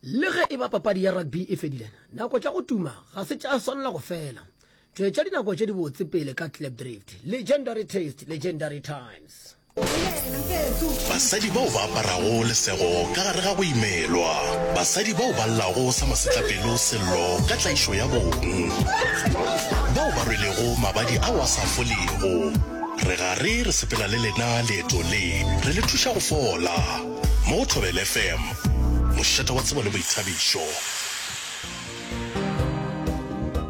Le ge e ba papadi ya rugby e fedile, nako tša go tuma ga se tša swanela go fela. Tšwetša dinako tše dibotse pele ka Klipdrift. Legendary taste, legendary times. Basadi bao ba aparago lesego ka gare ga go imelwa. Basadi bao ba llago sa masetlapelo sello ka tlaišo ya bong. Bao ba rwelego mabadi ao a sa folego. Re gare re sepela le lena leeto le, re le thuša go fola. Mo go Thobela FM, mošate wa tsebo le boithabišo.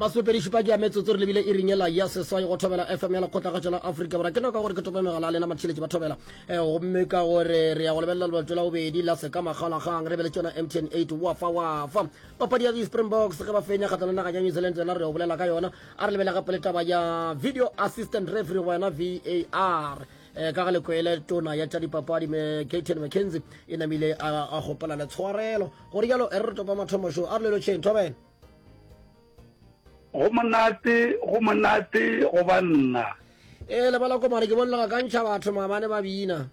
Masomepedi-šupa ke ya metsotso re lebile iring yela ya seswai go Thobela FM ya Lekgotlakgatšo la Afrika Borwa. Ke nako ya gore ke tope megala ya lena matheeletši ba Thobela. Eh, gomme ka gore re ya go lebelela lebato la bobedi la seka makgaolakgang re be le tšona MTN 8 wafa wafa. Papadi ya di-Springboks ge ba fenya kgahlano le naga ya New Zealand yona re yo bolela ka yona. A re lebele gape le taba ya video assistant referee goba yona VAR. Eh, ka ga lekwele tona ya tša dipapadi me Gayton McKenzie e namile a a kgopela le tshwarelo. Go rialo e re re topa mathomo šo a re le lotšheng Thobela. Go monate, go monate go ba nna. Ee, lebala komane ke bone le gakantšha batho maabane ba bina.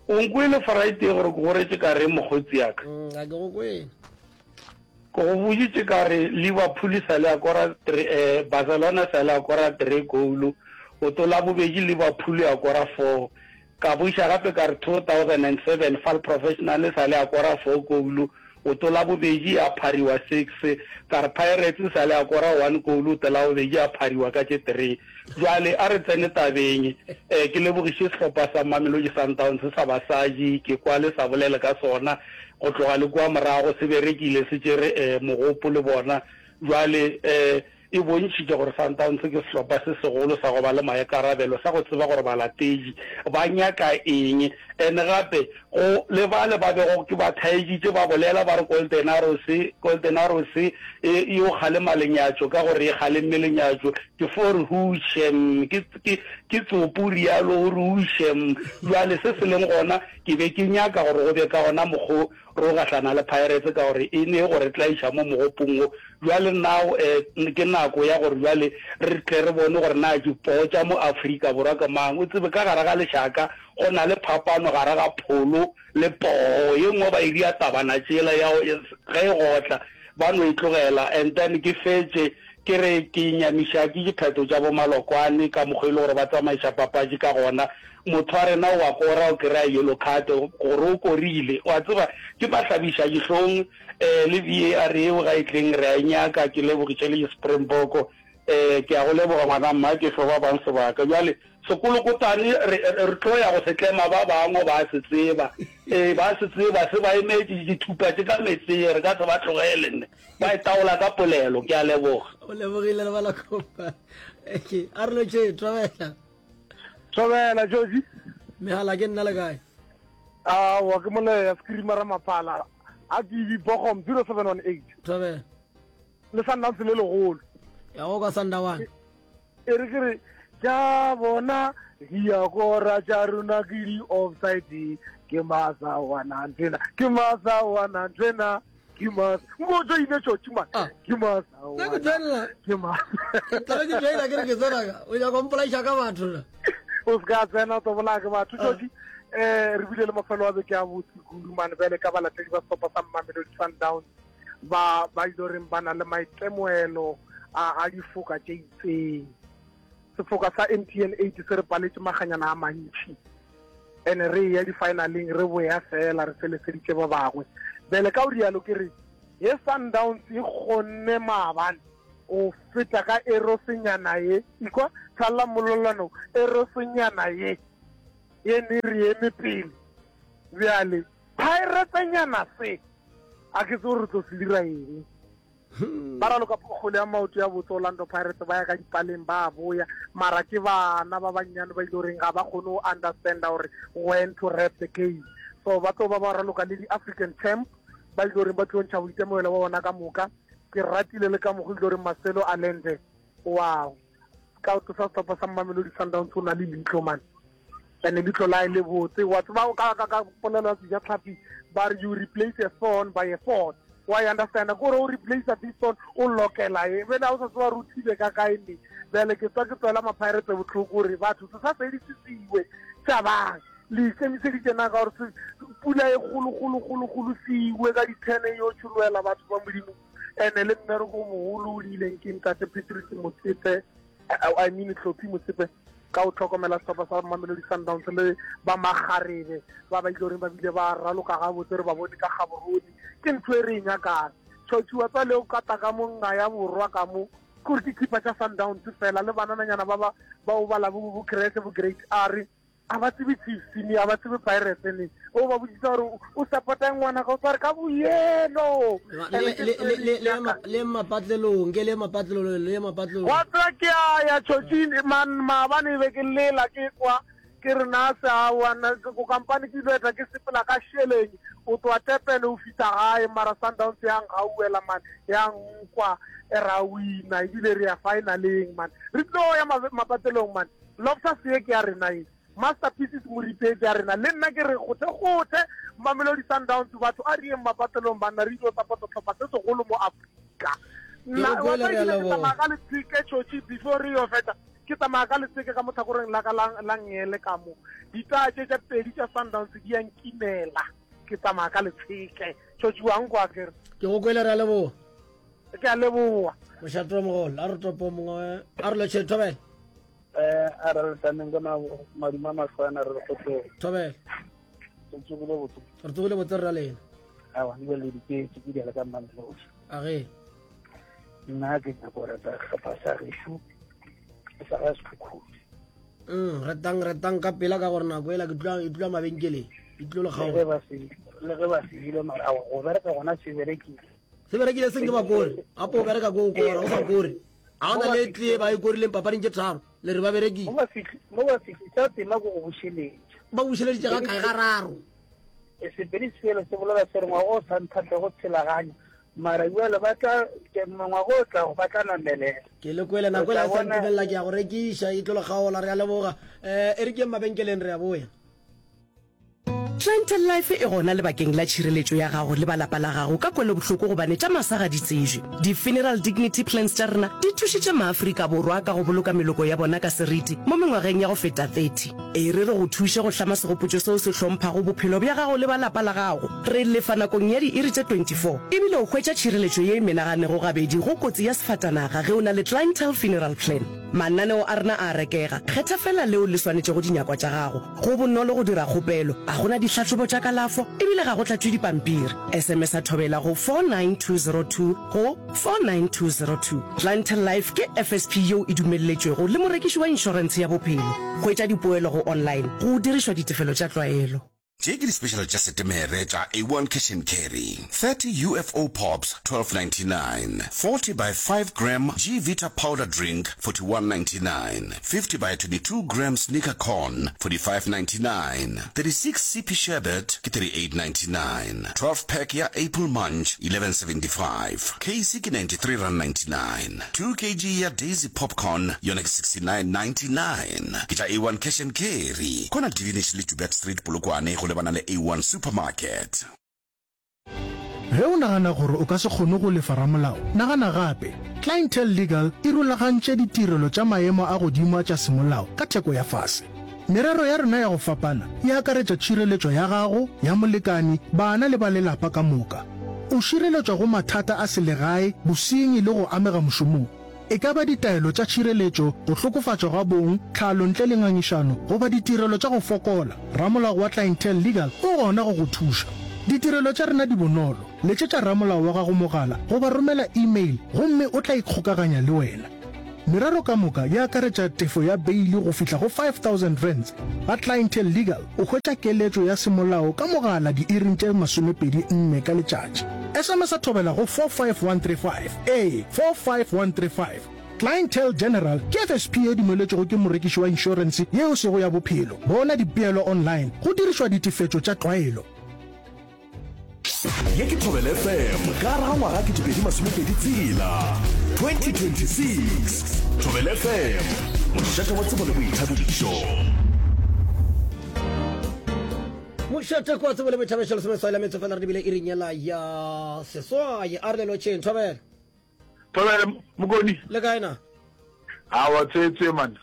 O nkwele Friday gore ke go retše ka reng mokgotsi ya ka? Mm, ga ke go kwele. Ke go boditše ka re Liverpool sa le ya kora eh, Barcelona sa le ya kora 3 goal, o to la bobedi Liverpool ya kora 4. Ka buša gape ka re 2007 Fal Professional sa le ya kora 4 goal, o to la bobedi ya phariwa 6. Ka re Pirates sa le ya kora 1 goal, o to la bobedi ya phariwa ka tše 3. Bjale a re tsene tabeng. Eh, ke lebogiše sehlopha sa Mamelodi Sundowns sa basadi, ke kwa le sa bolele ka sona go tloga le kua morago, se berekile, se tšere eh, mogopo le bona. Bjale eh, e bontšhitše gore Sundowns ke sehlopha se segolo sa go ba le maikarabelo, sa go tseba gore balatedi ba nyaka eng. And gape go le bale ba bego ke ba thaeditše ba bolela ba re Golden Arrows, Golden Arrows e e yo kgalema lenyatšo ka gore e kgalemme lenyatšo. Ke fo re hušem, ke, ke, ke tsopo o realo, o re hušem. Bjale se se leng gona, ke be ke nyaka gore go be ka gona mokgo Ro gahlana le Pirates ka gore e ne go re tlaiša mo mogopong wo. Bjale now ke nako ya gore bjale re tle re bone gore na dipoo tša mo Afrika Borwa ke mang. O tsebe ka gare ga lešaka go na le phapano gare ga pholo le poo. Ye nngwe ba e dia tabana tšela ya ge e gotla ba no e tlogela and then ke fetše ke re ke nyamiša ke diphetho tša bo Malokwane ka mokgwa e le gore ba tsamaiša papadi ka gona. Motho wa rena o a kora, o kry-a yellow card gore o korile. Wa tseba, ke mahlabiša dihlong. Um le VAR eo ga e tleng re a e nyaka. Ke lebogiše le Springbok. Um ke a go leboga ngwana mma, ke fe ba bang sebaka. Bjale sekolokotane re, re tlo ya go se tlema ba bangwe ba se tseba. Ee, ba se tseba, se ba emetše dithupa tše ka metseng, re ka se ba tlogele nne. Ba e taola ka polelo. Ke a leboga. O lebogile lebala kopa. A re lotšhe, thobela. Thobela Joji. Megala ke nna le kae? Aowa ke moleya Screamer Maphala a ke Bogom 0718. Thobela. Le Sundowns le legolo. Ya go ka Sundown. E re ke re tša bona di a kora tša rona ke di offside ke masa wana nthena ke masa wana nthena ke masa nko tso ile tšotši man ah. ke masa nna ke joinela ke masa ke tlabe ke joina ke re ke tsena ka o nyaka mpolaiša ka batho na o se ka tsena o tlo bolaya ke batho ah. tšotši um re bile le mafelo a beke a botse kudu mane bjale ka balatedi ba sehlopha sa Mamelodi Sundowns ba ba ile goreng ba na le maitemogelo a a difoka tše itseng sefoka sa MTN 8 se re paletše maganyana a mantši ene re ya di-finaleng re boya fela re feleseditše ba bangwe bjale ka o rialo ke re ye Sundowns e kgonne maabane o feta ka erosenyana ye ikwa tshalla mololano erosenyana ye ye ne re eme pele bjale Piratenyana se a ke tse gore re tlo se dira eng. Ba raloka kgwele ya maoto ya botse Orlando Pirates ba ya ka dipaleng ba boya mara ke bana ba bannyane ba ile goreng ga ba kgone go understanda gore when to wrap the game so ba tlo ba ba raloka le di-African champ ba ile goreng ba tlo ntšha boitemogelo ba bona ka moka ke ratile le ka mokgwa ile goreng Marcelo Allende wow scout sa sehlopha sa Mamelodi Sundowns o na le leihlo man and leihlo la e le botse wa tseba ka ka ka polelo ya sejatlhapi ba re you replace a thorn by a thorn wa e understand ko gore o replace this thorn o lokela e bene o sa tseba re o thibe ka kae ne bjale ke tswa ke tswela mapirates botlhoko gore batho se sa fedisisiwe tšabang. Le ikemiseditše na ka gore pula e kgolo kgolo kgolo kgolo se iwe ka dithene e yo tšholoela batho ba Modimo? Ene le mmereko o mogolo o diileng ke Ntate Patrick Motsepe, I mean Hlophi Motsepe, ka go hlokomela sehlopha sa Mamelodi Sundowns le ba makgarebe ba ba ile goreng ba bile ba raloka gabotse re ba bone ka Gaborone. Ke ntho e re e nyakang. Tšhotšhiwa tsa leo kata ka mo nga ya borwa ka mo kore ke khipa tša Sundowns fela le banananyana ba ba bao ba labo bo Krese bo Great R A ba tsebe Chiefs ne, a ba tsebe Pirates ne. O ba botšiša gore o support-a eng ngwanaka, o tla re ka boyelo. Le mapatlelong, ke le mapatlelong, le mapatlelong. Wa tseba ke a ya tšhotšing man, maabane e be ke lela ke kwa ke re na se aowa nna ko kampane ke ilo eta ke sepela ka šeleng o tloa Durban o fihla gae mara Sundowns ya nkgauwela man ya nkwa ra wina ebile re ya finaleng man re tlo ya mapatlelong man Lobster se ke ya rena ye. Masterpieces Moripe ke ya rena. Le nna ke re gothe gothe Mamelodi Sundowns batho a re yeng mapatlelong banna re ilo support tlhopha se segolo mo Afrika. Nna wa tseba ebile ke tsamaya ka letseke Chochi before re yo fetsa ke tsamaya ka letseke ka mo tlhakoreng la ka la ngele ka mo. Ditaya tše tša pedi tša Sundowns di ya nkimela. Ke tsamaya ka letsheke. Chochi wa nkwa akere. Ke go kwele re a leboga. Ke a leboga. Mošate wa mogolo a re topo mongwe a re lotšhe thobela. Eh, a re re tlameng ka maduma mahlwana re re kgotsong. Thobela. Re tsogile botse. Re tsogile botse rra lena. Awa, ke le diketse ke diala ka Mamelodi. A ge. Nna ke nyaka go reta sehlopha sa gešo sa ga Sekhukhune. Mm, retang retang ka pela ka gore nako ela ke tlwa e tlwa mabenkeleng. E tlo le kgaola. Le ge ba se ile mara go bereka gona se berekile. Se berekile seng ke ba kore. Gape o bereka ko kora o sa kore. A gona le tlee ba e korileng papading tše tharo le re ba berekile. Mo ba fihlisa tema ko go bušeletša. Ba bušeleditše ga kae gararo? E, Sepedi selo se bolela se re ngwaga o sa nthatle go tshelaganya mara bjale ba tla ngwaga o tlago ba tla namelela. Ke le kwele nako e la sa ntumelela ke ya go rekiša e tlo le kgaola re a leboga. Um e re ke mabenkeleng re a boya. Clientele Life e gona lebakeng la tšhireletšo ya gago le ba lapa la gago ka kwelobohloko gobane tša masa ga di tsejwe. Di-Funeral Dignity Plans tša rena di thušitše maAfrika Borwa ka go boloka meloko ya bona ka seriti mo mengwageng ya go feta 30. E re re go thuše go hlama segopotšo seo se hlomphago bophelo bja gago le ba lapa la gago. Re lefa nakong ya diiri tše 24 ebile o hwetša tšhireletšo ye e menaganego gabedi go kotsi ya sefatanaga ge o na le Clientele Funeral Plan. Mananeo a rena a a rekega, kgetha feela leo le swanetšego dinyakwa tša gago. Go bonolo go dira kgopelo, ga go na dihlahlobo tša kalafo e bile ga go tlatšwe dipampiri. SMS-a Thobela go 49202 go 49202. Clientele Life ke FSP yeo e dumelletšwego le morekiši wa inšorentshe ya bophelo. Hwetša dipoelo go online go dirišwa ditefelo tša tlwaelo. Tše ke di-special tša Setemere tša A1 Cash and Carry, 30 UFO Pops, 12.99, 40 by 5 gram G-Vita Powder Drink, 41.99, 50 by 22 gram Snicker Corn, 45.99, 36 CP Sherbet ke 38.99, 12 pack ya Apple Munch, 11.75, Case ke R93.99, 2 kg ya Daisy Popcorn yona ke 69.99. Ke tša A1 Cash and Carry. Kona Divinish le Joubert Street, Polokwane, go lebana le A1 Supermarket. Ge o nagana gore o ka se kgone go lefa ramolao, nagana gape. Clientele Legal e rulagantše ditirelo tša maemo a godimo a tša semolao ka theko ya fase. Merero ya rena ya go fapana e akaretša tšhireletšo ya gago, ya molekani, bana le ba lelapa ka moka. O šireletšwa go mathata a selegae, bosenyi le go amega mošomong. E ka ba ditaelo tša tšhireletšo, go hlokofatšwa ga bong, tlhalo ntle le ngangišano, goba ditirelo tša go fokola, ramolao wa Clientele Legal o gona go go thuša. Ditirelo tša rena di bonolo, letšetša ramolao wa gago mogala goba romela e-mail gomme o tla ikgokaganya le wena. Merero ka moka e akaretša tefo ya beili go fihla go R5000. Ga Clientele Legal o hwetša keletšo ya semolao ka mogala diiring tše 24 ka letšatši. SMS-a thobela go 45135. Ee, 45135. Clientele General ke FSP ye dumeletšwego ke morekiši wa inšorense ye e sego ya bophelo. Bona dipeelo online go dirišwa ditefetšo tša tlwaelo. Ye ke Thobela FM ka gare ga ngwaga 2026, 2026. Thobela FM, mošate wa tsebo le boithabišo. Mošate kwa tsebo le boithabišo lesomeswai la metso fela re lebile iring yela ya seswai a re le lotšheng thobela. Thobela mokoni. Le kae na? Awa tswetswe man.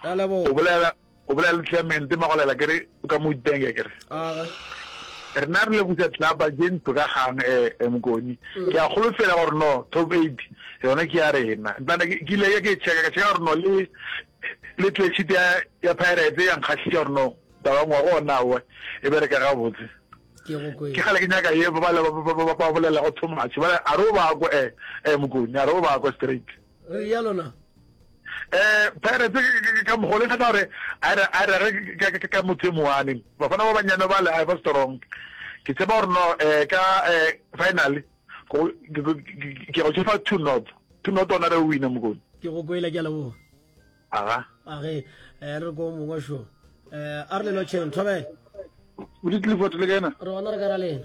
Re a leboga. O bolela. O bolela le Clement Magolela ke re o ka mo itenge ke re. Rena re leboša tlelapa tše ntlo ka kgang eh, eh Mokoni. Mm. Ke a kgolofela gore no top 8 yona ke ya rena. Ntana ke ile ke checka ka checka gore no le le clean sheet ya ya Pirates ya nkgahliša gore no taba ngwaga ona we e bereka gabotse. Ke kgale ke nyaka ye ba ba ba bolela go too much. Ba a re o ba ko eh eh Mokoni a re o ba ko straight. Re ya lona. Eh, Pirates ka mogolo e kgatha gore a re a re ka motho e moane. Bafana ba banyane ba le a ba strong. Ke tshepa gore no eh ka eh final go ke go tshepa 2 not. 2 not ona re wina mokone. Ke go kwela ke a leboga. Aga. Age eh re go mongwe sho. Eh a re le lotšheng thobela. Moditi Clifford le kaena? Re gona re ka ra lena.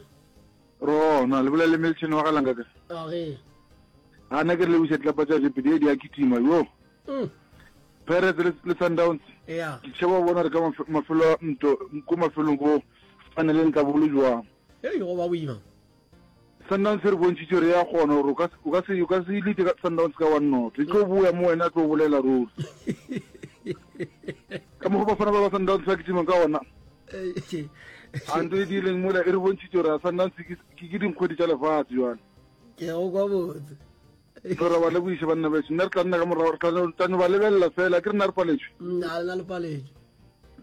Rona le bolela le Milton wa galang ka. Age. A na ke re lebisa tlapa tsa Jepe di a kitima yo. Mm. Pirates le, le Sundowns. Yeah. Ke tsheba bona re ka mafelo a nto ko mafelong go fanele ntla bolo jwang. Hey go ba boima. Sundowns re bontšhitše re ya kgona gore o ka o ka se o ka se ilite ka Sundowns ka one not. E tlo boya mo wena tlo bolela ruri. Ka mokgwa bafana ba ba Sundowns ba kitima ka ona. A nto e diileng mola e re bontšhitše gore Sundowns ke ke dinkgwedi tša lefatshe jwale. Ke go kwa botse. Re ra ba lebogiša banna beso. Nna re tla nna ka morago, re tla tla no ba lebelela fela. Ke rena re paletšwe. Mm, a lena le paletšwe.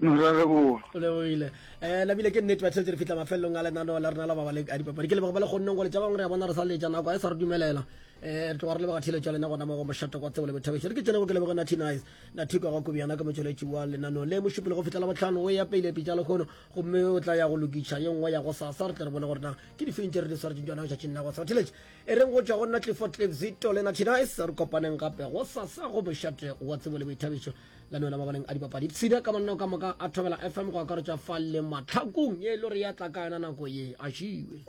No ra leboga. O lebogile. Eh nabile ke nnete batheletši re fihla mafelelong a lenaneo la rena la mabaleng a dipapadi. Ke leboga ba le kgonneng go letša bangwe re a bona re sa letša nako a e sa re dumelela. Eh re tloga re leboga theletšo ya lena gona mo go mošate kwa tsebo le boithabišo. Re ke tšene go ke leboge Natty Nice. Natty kwa ga Kobiana ke motšweletši wa lenaneo le mošupologo go fihla Labohlano o ya pele pitša lekgono gomme o tla ya go lokiša ye nngwe ya gosasa re tle re bone gore na ke difeng tše re di swaretšeng tšona letšatšing la gosasa. Theletši E reng go tšwa go nna Clifford Cliff Zito le Natty Nice, re kopaneng gape gosasa go mošate wa tsebo le boithabišo la nona mabaleng a dipapadi. Ipshine ka mananeo ka moka a Thobela FM go akaretša fa le mahlakong ye e le gore ya tla ka yona nako ye. A šiwe.